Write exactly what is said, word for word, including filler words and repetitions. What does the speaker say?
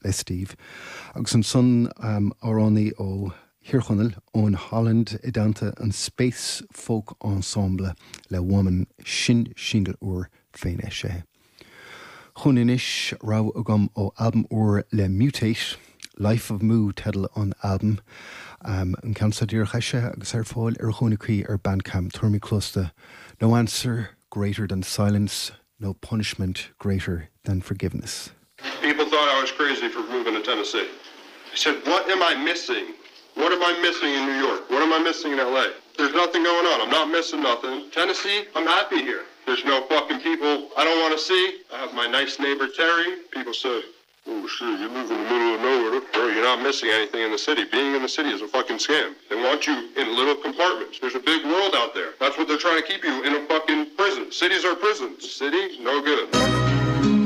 le Steve. Agus ansan um, amhránaí ó Thír Chonaill Owen Holland i dteannta an Space Folk Ensemble le Woman sin single úr féin eisithe. Chun anois rogha agam ó albam úr le Mutate, Life of Mu teideal an albam. Um, an ceann seo díreach eisithe agus ar fáil ar chónaí ar Bandcamp Tuairmí Closta. No answer greater than silence, no punishment greater than forgiveness. People thought I was crazy for moving to Tennessee. I said, what am I missing? What am I missing in New York? What am I missing in LA? There's nothing going on. I'm not missing nothing. Tennessee, I'm happy here. There's no fucking people I don't want to see. I have my nice neighbor Terry. People say, oh shit, you live in the middle of nowhere. Bro, you're not missing anything in the city. Being in the city is a fucking scam. They want you in little compartments. There's a big world out there. That's what they're trying to keep you in a fucking prison. Cities are prisons. City, no good.